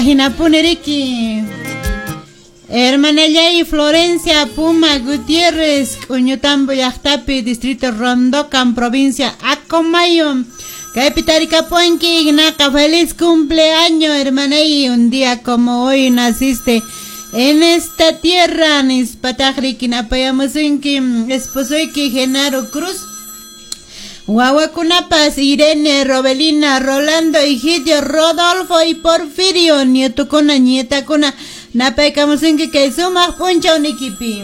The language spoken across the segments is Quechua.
Ahinapuni riki. Hermanallay Florencia Puma Gutiérrez, K'uñutambo llaqtapi, distrito Rondocan, provincia Acomayo. Kaypi tarikapuanki, naqa feliz cumpleaños, hermanay, un día como hoy naciste en esta tierra, nispataq riki napayamusunki, esposoyki Genaro Cruz. Wawakunapas Irene, Robelina, Rolando, Egidio, Rodolfo y Porfirio, nietukuna, nietakuna, napaykamusunki kay sumaq p'unchaw nikipi.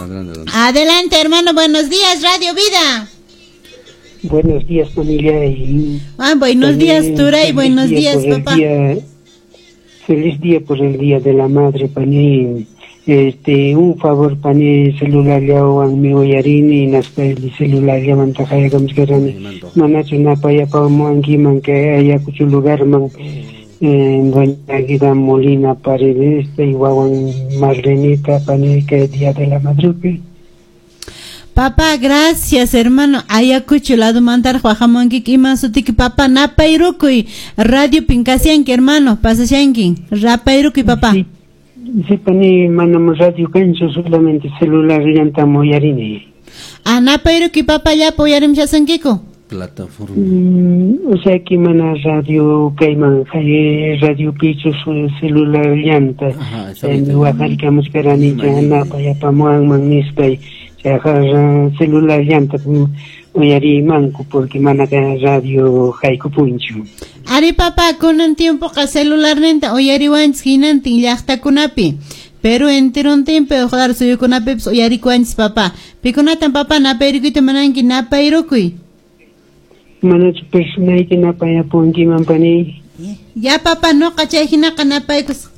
Adelante, Adelante, hermano, buenos días, Radio Vida. Buenos días, familia. Y Ah, buenos días, también Turay, feliz buenos día días, por el papá. Feliz día por el Día de la Madre, pani. Un favor, pani, celular llawan mi uyarini, naspa el celular llaman tajayakamuskarani. Manachu napayapamuankiman kay Ayacucho lugarman, doña Aguida Molina Paredes, y wawan Marlenita, pani, que Día de la Madre. Papá, gracias, hermano. Ayacucho, lado mantar, Juajamonki, iman sutiki, papá, napayrukuy, radio pinkasianki, hermano, pasashanki, rapayrukuy, papá. Sí, sí, pani, manam radio kanchu, solamente celular llantam uyarini. Ah, napayrukuy, papá, llapa uyarimshasunkiku. Plataforma. O sea que mana radio kayman, radio pichu celular llanta. Ajá, está bien. Waqarkamuskarani, napayapamuanman nispay. Celular llanta uyarimanku porque mana radio haykupunchu. Ari papá, kunan tiempoqa celularninta uyariwanchis hinantin llaqtakunapi. Pero enterontinpi uqlar suyukunapipis uyarikuwanchis papá. Pikunatan papá napayrukuyta munanki napayrukuy. Manachu personayki napayapunkiman pani? Ya papá, noqa chay hinaqa napaykus.